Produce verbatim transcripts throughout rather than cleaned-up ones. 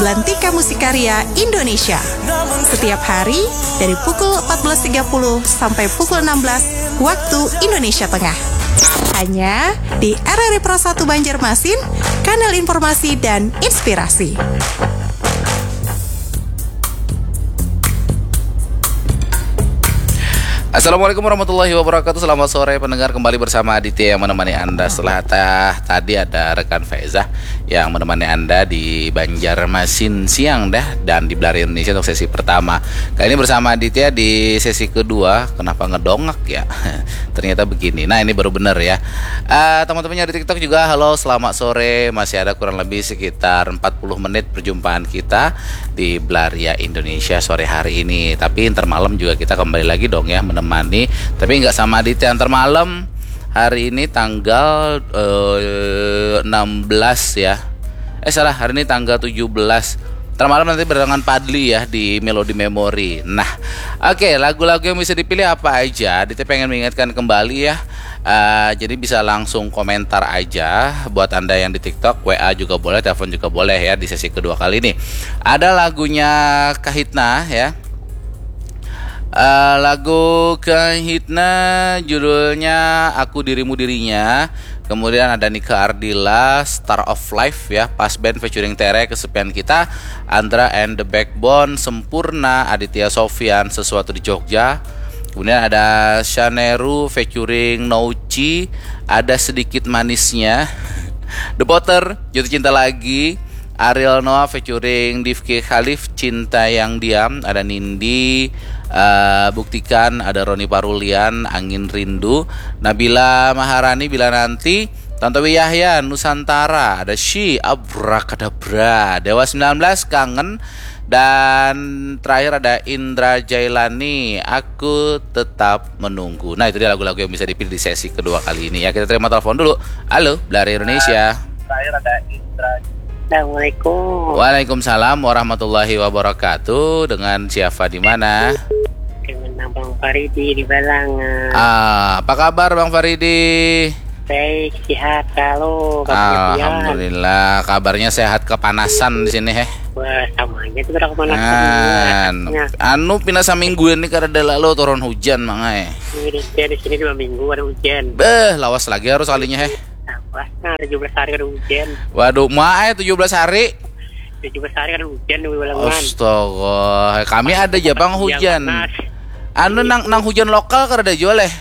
Belantika Musik Karya Indonesia. Setiap hari dari pukul empat belas tiga puluh sampai pukul enam belas waktu Indonesia Tengah. Hanya di R R I Pro satu Banjarmasin, kanal informasi dan inspirasi. Assalamualaikum warahmatullahi wabarakatuh. Selamat sore pendengar, kembali bersama Aditya yang menemani Anda setelah ta- tadi ada rekan Faizah yang menemani Anda di Banjarmasin siang dah, dan di Belari Indonesia untuk sesi pertama. Kali ini bersama Aditya di sesi kedua. Kenapa ngedongak ya? Ternyata begini. Nah, ini baru bener ya. Eh, teman-teman yang di TikTok juga, halo, selamat sore. Masih ada kurang lebih sekitar empat puluh menit perjumpaan kita di Belaria Indonesia sore hari ini. Tapi ntar malam juga kita kembali lagi dong ya, menemani. Tapi nggak sama Aditya, ntar malam. Hari ini tanggal eh, enam belas ya. Eh, salah, hari ini tanggal tujuh belas. Ntar malam nanti barengan Padli ya di Melody Memory. Nah, oke, lagu-lagu yang bisa dipilih apa aja? Aditya pengen mengingatkan kembali ya. Eh, jadi bisa langsung komentar aja buat Anda yang di TikTok, W A juga boleh, telepon juga boleh ya di sesi kedua kali ini. Ada lagunya Kahitna ya. Eh, lagu Kahitna judulnya Aku Dirimu Dirinya. Kemudian ada Nika Ardila, Star of Life ya, Pas Band featuring Tere, Kesepian Kita, Andra and the Backbone, Sempurna, Aditya Sofyan, Sesuatu di Jogja. Kemudian ada Shaneru featuring Nouchi, ada Sedikit Manisnya. The Potter, Jatuh Cinta Lagi, Ariel Noah featuring Difki Khalif, Cinta Yang Diam, ada Nindi, eh, Buktikan, ada Roni Parulian, Angin Rindu, Nabila Maharani, Bila Nanti, Tantowi Yahya, Nusantara, ada Shi, Abrakadabra, Dewa sembilan belas, Kangen, dan terakhir ada Indra Jailani, Aku Tetap Menunggu. Nah, itu dia lagu-lagu yang bisa dipilih di sesi kedua kali ini ya. Kita terima telepon dulu. Halo, Belaria Indonesia. Terakhir ada Indra. Assalamualaikum. Waalaikumsalam warahmatullahi wabarakatuh. Dengan siapa di mana? Dengan Abang Faridi di Balangan. Ah, apa kabar Bang Faridi? Baik, sehat selalu. Kabarnya pian? Alhamdulillah, kabarnya sehat, kepanasan di sini, heh. Wah, sama aja tuh, kada kepanasan juga. Nah, anu, pina samingguan nih kada ada lalu turun hujan, Mang ai. Ini di, di sini dua minggu ada hujan. Beh, lawas lagi harus kalinya, heh. Lawas, nah, tujuh belas hari kada hujan. Waduh, Mang ai, tujuh belas hari. Tujuh belas hari kada hujan di Balangan. Astaga, kami ada ja pang hujan. Panas. Anu, nang, nang hujan lokal kada ada jua leh.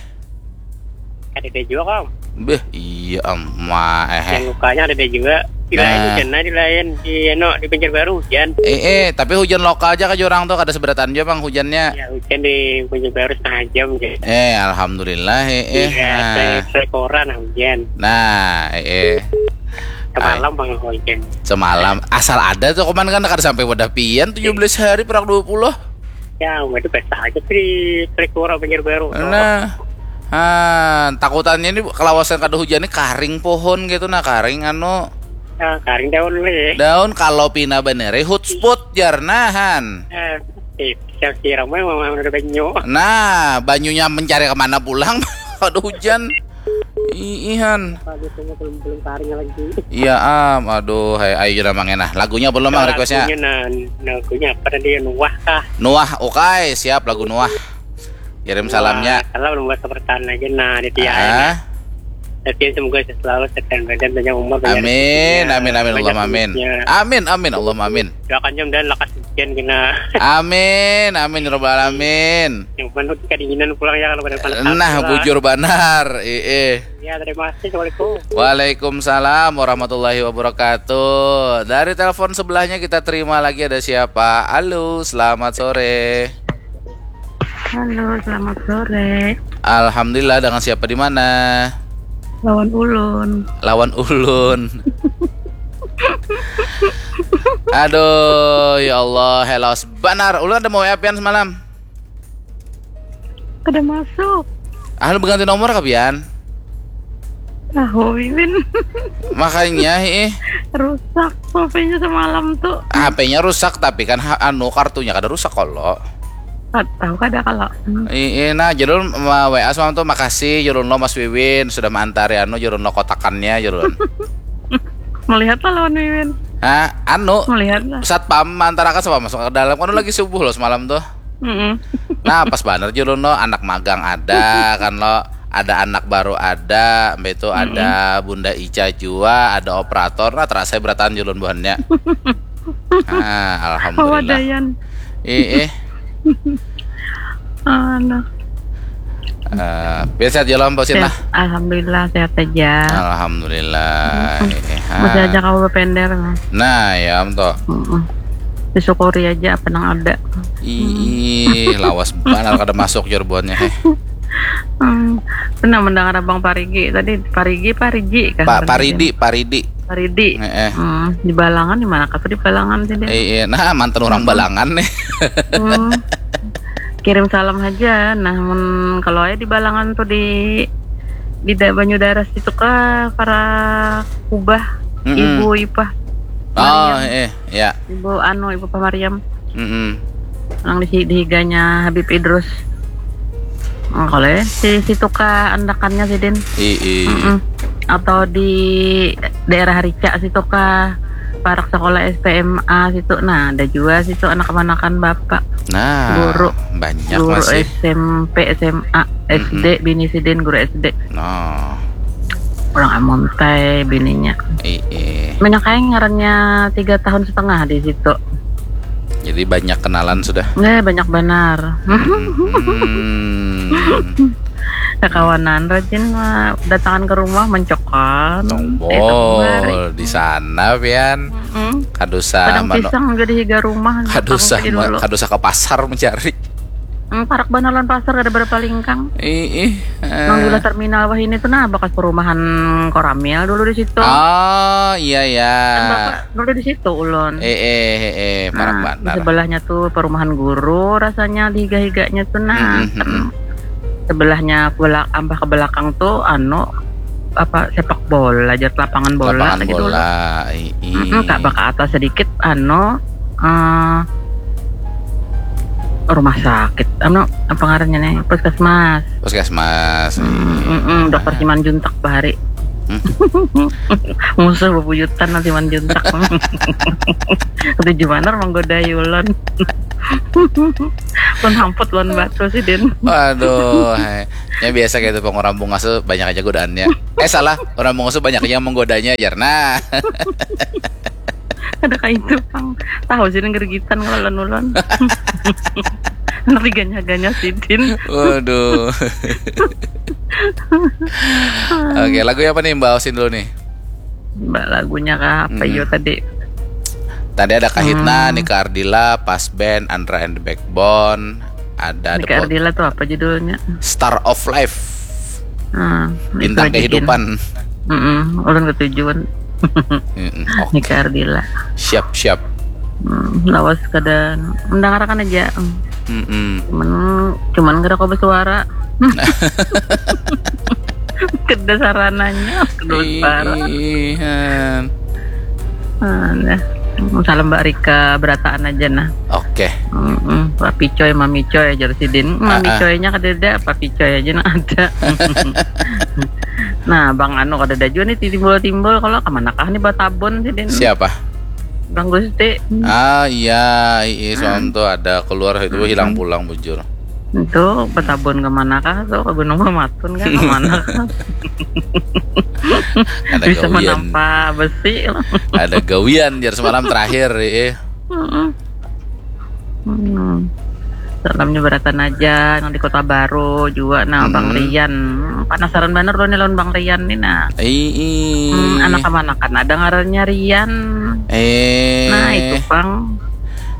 Ada jua, Kang. Beh, iya, Mang ai. Yang lukanya ada juga. Di lain hujan, nah, di lain. Di, anu, di Banjarbaru hujan. Eh, eh, tapi hujan lokal aja ka jurang tuh, kada seberatan jua pang hujannya. Ya, hujan di Banjarbaru setengah jam aja. Eh, alhamdulillah, eh, eh. Iya, nah. Saya, saya koran hujan. Nah, eh, eh. Semalam pang hujan. Semalam. Asal ada tuh, koman kan kada sampai wadah pian, tujuh belas hari, perak dua puluh. Ya, itu biasa aja sih di Trikura Banjarbaru. Nah, ah, takutannya ini kalawasan kada hujan ini karing pohon gitu, nah, karing anu. Ya, karing daun leh. Daun, kalau pina banar, eh, hutspot jar, nah, han. Eh, eh, siram-siram, memang ada banyu. Nah, banyunya mencari kemana pulang? Kada hujan. Iihan. Aduh, tunggu, belum, belum karing lagi. Iya, am, aduh, hai, ayo jua, Mang, nah. Lagunya apa dulu, Mang, requestnya? Lagunya, nah, lagunya apa tadi? Nuah kah? Nuah, oke, siap lagu Nuah. Kirim salamnya. Salam buat kepertaan aja, nah, Aditya, ah. Tapi semoga selalu sehat badan, panjang umur, banyak rezekinya. Amin, amin, amin, Allahumma amin. Amin, amin, Allahumma amin. Doakan jam dan lakas hujan kena. Amin, amin, ya rabbal alamin. Yang penuh kedinginan pulang ya kalau pada panas. Nah, bujur banar. Eh, eh. Ya, terima kasih. Assalamualaikum. Waalaikumsalam warahmatullahi wabarakatuh. Dari telepon sebelahnya kita terima lagi, ada siapa? Halo, selamat sore. Halo, selamat sore. Alhamdulillah, dengan siapa di mana? Lawan ulun. Lawan ulun. Aduh, ya Allah, hello banar. Ulun ada mau W A pian semalam. Kada masuk. Ah, lu berganti nomor kah, pian? Tahu, Wiwin. Makanya, ih. Rusak H P-nya semalam tuh. H P-nya rusak, tapi kan ha-, anu, kartunya kada rusak, kalau. Tahu kada kalau. Hmm. Ih, ih, nah, jadul ma-, W A semalam tuh, "Makasih, jadul lo, Mas Wiwin, sudah mengantari anu, jadul lo, kotakannya," jadul. Melihatlah lawan Wiwin. Ah, anu, Melihat lah. Satpam antarakan, satpam masuk ke dalam, kan lagi subuh loh semalam tuh. Mm-mm. Nah, pas banget jul lo, anak magang ada kan lo, ada anak baru ada, mbak itu ada Bunda Ica jua, ada operator, nah terasa berataan jul buhannya. Ah, alhamdulillah. Pawadayan. Ih, ih. Aduh. Eh, biasa aja lah, Mbak Sin lah. Sehat. Alhamdulillah sehat aja. Alhamdulillah. Ih, ah. Masih aja kau bepender. Nah, ya, Om, toh. Mm-mm. Disyukuri aja apa yang ada. Ih, lawas banget kada masuk jor buhannya, heh. Hmm. Pernah mendengar abang Parigi tadi, Parigi, Parigi kah? Pak Paridi, Paridi. Paridi. Heeh. Hmm, di Balangan, di mana kah tuh di Balangan sih dia? Eh, eh, nah, mantan orang Balangan nih. Hmm. Kirim salam aja. Nah, mun kalau aja di Balangan tuh di di da Banyu Daras itu kah, para kubah, Mm-mm. ibu ipah Oh, eh, ya. Ibu anu, Ibu Pah Mariam. Mm-mm. Nang di, di higanya Habib Idrus. Nah, kalau ya, di situ kah andakannya sidin. Ih, ih. Mm-mm. Atau di daerah Rica situ kah, parak sekolah S P M A situ. Nah, ada juga situ anak kemanakan bapak. Nah, Guru. Banyak Guru masih. S M P, S M A, S D, bini sidin guru S D. Nah, Orang Amontai bininya. Ih, ih. Banyak kayak ngarannya tiga tahun setengah di situ. Jadi banyak kenalan sudah. Nggak, banyak benar. Hmm. Kakawanan rajin mah datangan ke rumah mencokan. Tombol di sana, pian. Mm. Kadusa Padang manu- pisang juga di higa rumah. Kadusa Aku pergi ma- dulu. Kadusa ke pasar mencari. Hmm, parak banalan pasar ada berapa lingkang. Ih, ih. Nang di Eh. Ulah Terminal wah ini tuh nah bekas perumahan Koramil dulu di situ. Oh, iya, ya. Kan bapak dulu di situ ulun. Eh, eh, eh, eh, parak Nah, di bandar. Sebelahnya tuh perumahan guru rasanya di higa-higanya tuh nah. Mm-mm, Kan mm-mm. Sebelahnya belak ambah ke belakang tuh anu apa sepak bola, jar lapangan bola Lapangan gitu. Bola. Ih, ih. Mm-mm, kak baka atas sedikit anu eh, rumah sakit anu apa ngarannya nih, puskesmas. Puskesmas. Mm-mm, dokter Simanjuntak bahari. Hmm. Musuh bebuyutan lah Simanjuntak. Katuju banar menggodai ulun. Pun hamput lawan batu sidin. Waduh, hai. Nya biasa kayak itu pengurang bungas tuh banyak aja godaannya. Eh, salah, orang bungas tuh banyak yang menggodanya, jar. Nah. Ada kayak itu pang. Tahu sidin gergitan kalau lawan ulun. Anak diganya-ganya sidin. Waduh. Oke, lagu apa nih, Mbak Osin dulu nih? Mbak lagunya kah apa Mm-mm. yo tadi? Tadi ada Kahitna, Hmm. Nika Ardila, Pas Band, Andra and the Backbone, ada The Nika Po- Ardila tuh apa judulnya? Star of Life. Hmm, itu Bintang aja, Kehidupan. Din. Mm-mm, ulun ketujuan. Mm-mm, Oke. Nika Ardila. Siap, siap. Hmm, lawas kada mendengarkan aja. Mm-mm. Cuman cuman kada kau bersuara. Kada sarananya, kada bersuara. Ih, han. Ah, nah. Salam Mbak Rika berataan aja nah. Oke. Mm-mm. Papi coy, mami coy aja sidin. Mami Ah, ah. Coynya kada ada, papi coy aja nah ada. Nah, bang anu kada ada juga nih timbul-timbul kalau kemana kah nih batabun sidin. Siapa? Bang Gusti. Ah, iya, ii, semalam tuh ada keluar itu hilang pulang bujur. Itu batabun kemana kah tuh, ke Gunung Mamatun kah, kemana kah? Ada Bisa gawian. Menampa besi. Ada gawian jar semalam terakhir, ii. Mm-mm. Hmm. Salamnya beratan aja yang di Kota Baru juga nah Bang Hmm. Rian. Penasaran bener loh nih lawan Bang Rian nih nah. Ii. Hmm, anak kemanakan ada ngarannya Rian. Eh. Nah itu Bang.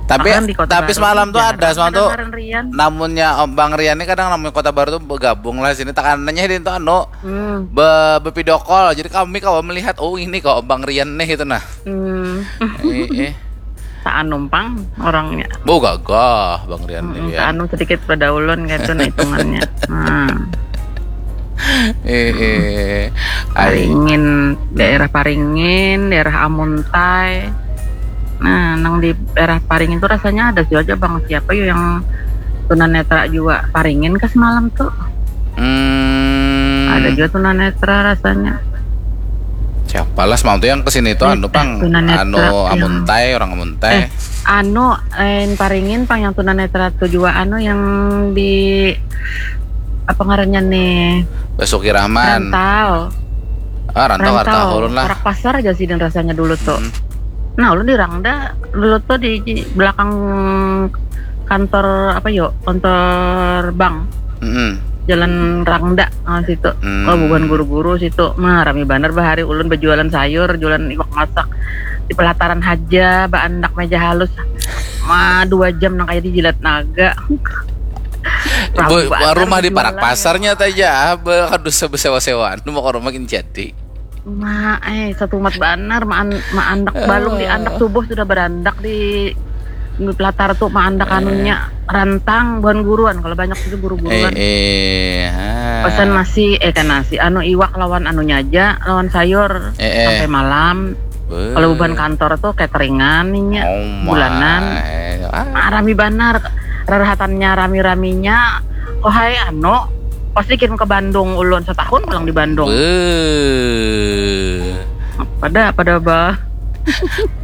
Tapi Bahkan di Kota tapi Baru semalam tuh tuh ada jarang semalam ada tuh ngaran Rian. Namunnya Om Bang Rian nih kadang namanya Kota Baru tuh bergabung lah sini tekanannya di itu anu Hmm. be, be video call jadi kami kawa melihat oh ini kok Bang Rian nih itu nah. Hmm. Eh, eh. Tak anu pang orangnya. Bau gagah Bang Rian Hmm, nih tak ya. Anu sedikit pada ulun kayak itu nah hitungannya. Nah. Eh, eh. Ai. Paringin, daerah Paringin, daerah Amuntai. Nah, nang di daerah Paringin itu rasanya ada sih aja bang siapa yuk yang tunanetra juga Paringin ke semalam tuh. Hmm. Ada juga tunanetra rasanya. Siapa Alas mau tuh yang kesini tuh anu pang, Tunanetra, anu yang- Amuntai, orang Amuntai. Eh, anu, eh, paringin pang yang tunanetra tuh jua anu yang di apa ngarannya nih, Basuki Rahman. Rantau. Ah, Rantau, Rantau. Ulun lah. Parak Pasar aja sih dan rasanya dulu tuh. Hmm. Nah, ulun di Rangda dulu tuh di, di belakang kantor apa yo, kantor bank. Mm-mm. Jalan Rangda, ah, situ. Hmm. Kalau bukan guru-guru situ, mah rami banar bahari ulun berjualan sayur, jualan iwak masak di pelataran haja, baandak meja halus. Mah dua jam nang kayak dijilat naga. Rami Bu, banar rumah di Parak berjualan. Pasarnya aja, ah, be- kada usah besewa-sewaan, mau ke rumah gini jadi. Ma, eh, satumat banar, ma, an, ma andak balum di andak subuh sudah berandak di, di pelatar tuh, ma andak Eh. Anunya rantang, bukan guruan, kalau banyak itu Eh, guru-guruan. Eh, ha. Pesan nasi, eh kan nasi, anu iwak lawan anunya aja, lawan sayur Eh, eh. Sampai malam. Weh. Kalau beban kantor tuh cateringan inya, Oh my. bulanan. Ah. Ah, rami banar, rarahatannya rami-raminya. Oh hai anu, pasti kirim ke Bandung ulun, setahun pulang di Bandung. Weh. Pada pada ba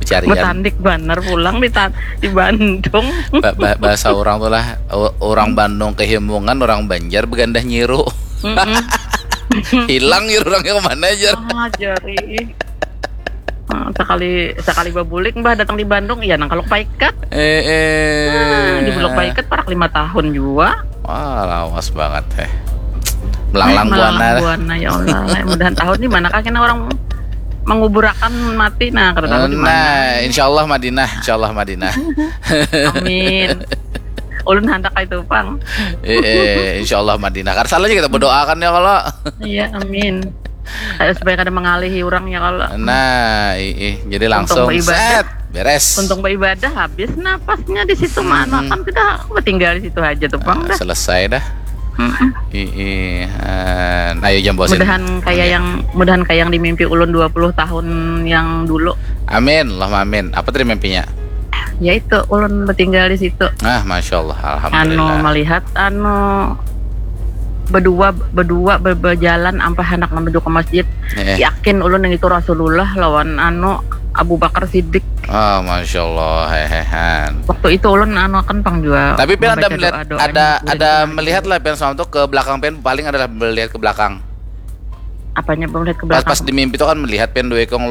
Pencarian. Betandik banar pulang di ta- di Bandung. Ba- ba- bahasa orang tuh lah, o- orang Bandung kehimungan, orang Banjar begandah nyiru. Mm-mm. Hilang ya orangnya kemana aja. Ah, jari. Ah, sekali sekali babulik mbah datang di Bandung, iya nang kalau paikat. Eh, eh. Ah, di Bulak Paikat parak lima tahun juga. Wah, lawas banget eh. Melanglang Melanglang buana. Buana, ya Allah. Mudahan tahun ini mana kah kena orang menguburakan mati, nah kada tahu di mana. Nah, insya Allah Madinah, insya Allah Madinah. Amin. Ulun handak itu pang. Eh, eh, insya Allah Madinah. Kada salah aja kita berdoakan ya kalau. Iya, amin. Kada, supaya kada mengalihi orang ya kalau. Nah, ih, ih. Jadi langsung Untung beribadah. Set, beres. Untung beribadah habis napasnya di situ, mana kan kita tinggal di situ aja tuh pang dah. Selesai dah. Mm-mm. Ih, ih. Eh, nah, ayo jam bosin. Mudahan kayak yang mudahan kayak yang di mimpi ulun dua puluh tahun yang dulu. Amin, Allahumma amin. Apa tadi mimpinya? Ya itu, ulun bertinggal di situ. Ah, masya Allah, Anu alhamdulillah. Melihat anu berdua berdua ber- berjalan ampa hendak menuju ke masjid. Eh. Yakin ulun yang itu Rasulullah lawan anu Abu Bakar Siddiq. Oh, masya Allah, hehehan. Waktu itu ulun anu akan pang jua. Tapi pian ada Membaca melihat, doa-doa ada yang ada ulun melihat lah pian semalam tuh ke belakang pian, paling adalah melihat ke belakang. Apanya belum lihat ke Pas belakang? Pas di mimpi tuh kan melihat pian dua ikung